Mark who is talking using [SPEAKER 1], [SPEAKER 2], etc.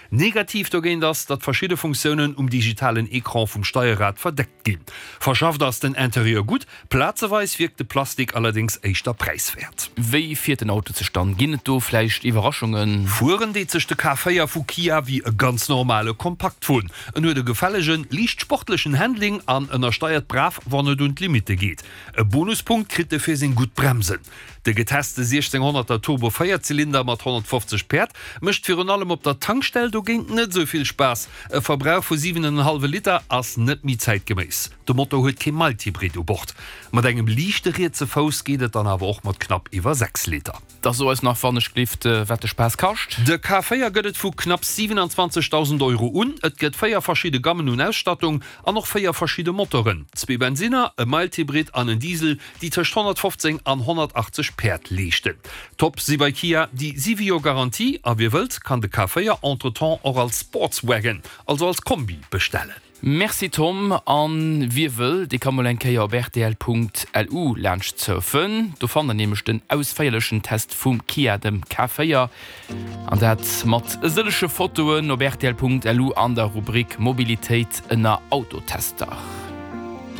[SPEAKER 1] Negativ dogéint ass, datt verschidde Funktiounen um digitalen Ecran vum Steierrad verdeckt ginn. Verschafft ass den Interieur gutt, plazeweis wierkt de Plastik allerdéngs éischter präiswäert.
[SPEAKER 2] Wéi fiert den Auto zestan? Ginn et do vläicht Iwwerraschungen?
[SPEAKER 1] Fueren deet sech de K4 vu Kia wéi e ganz normale Kompaktwon. En huet e gefällegen, liicht sportlechen Handling an ënnersteiert brav, wann et un d'Limitte geet. E Bonuspunkt kritt e fir seng gutt Bremsen. De geteste 1600er Turbo Véierzylinder mat 150 Päerd mécht virun allem op der Tankstell dogéint net esou vill Spaass. E Verbrauch vu 7,5 Liter ass net méi zäitgeméiss. De Motor huet kee Mild-Hybrid u Bord. Mat engem liichte rietse Fouss geet et dann awer och mat knapp iwwer 6 Liter.
[SPEAKER 2] Da so eis nach wann ech glift wat de Spaass kascht.
[SPEAKER 1] De K4 gëtt et vu knapps 27.000 Euro un. Et gëtt 4 verschidde Gammen un Ausstattung an och 4 verschidde Motoren, zwee Bensinner, e Mild-Hybrid an en Diesel, déi tëscht 115 an 180 Päerd leeschten. Top si bei Kia déi 7 Joer Garantie a wie wëllt, kann de K4 entretemps och als Sportswagon, also als Kombi bestellen.
[SPEAKER 2] Merci Tom, an wie wëll, dee ka mol eng Kéier op rtl.lu laanscht surfen. Do fannt der nämlech den ausféierlechen Test vum Kia, dem K4, an dat mat e sëllege Fotoen op rtl.lu an der Rubrik Mobilitéit ënner Autotester.